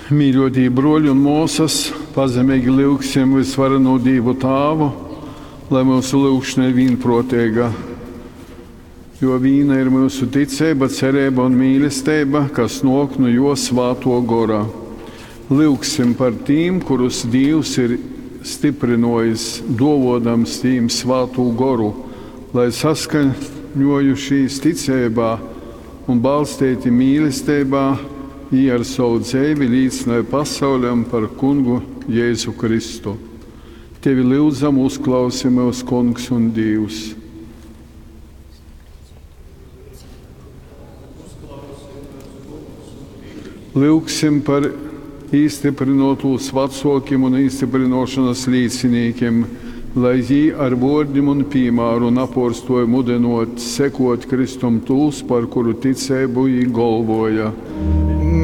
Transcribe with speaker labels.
Speaker 1: Mīļotī bruoļi un muosys, pazemeigi lyugsim Vysvarenū Dīvu Tāvu, lai myusu lyugšona ir vīnpruoteiga. Jo vīna ir myusu ticeiba, cereiba un mīlesteiba, kas nuok nu Juo Svātuo Gora. Lyugsim par tīm, kurus Dīvs ir styprynuojis, duovuodams tīm Svātū Goru, lai saskaņuojušīs ticeibā un balsteiti mīlesteibā, jī ar sovu dzeivi līcynoj pasauļam par Kungu Jēzu Kristu. Tevi lyudzam, uzklausi myus, Kungs un Dīvs! Lyugsim par īstyprynuotūs vacuokim un īstyprynuošonys līcinīkim, lai jī ar vuordim un pīmāru napuorstuoj mudynuot sekuot Kristum tūs, par kuru ticeibu jī golvuoja.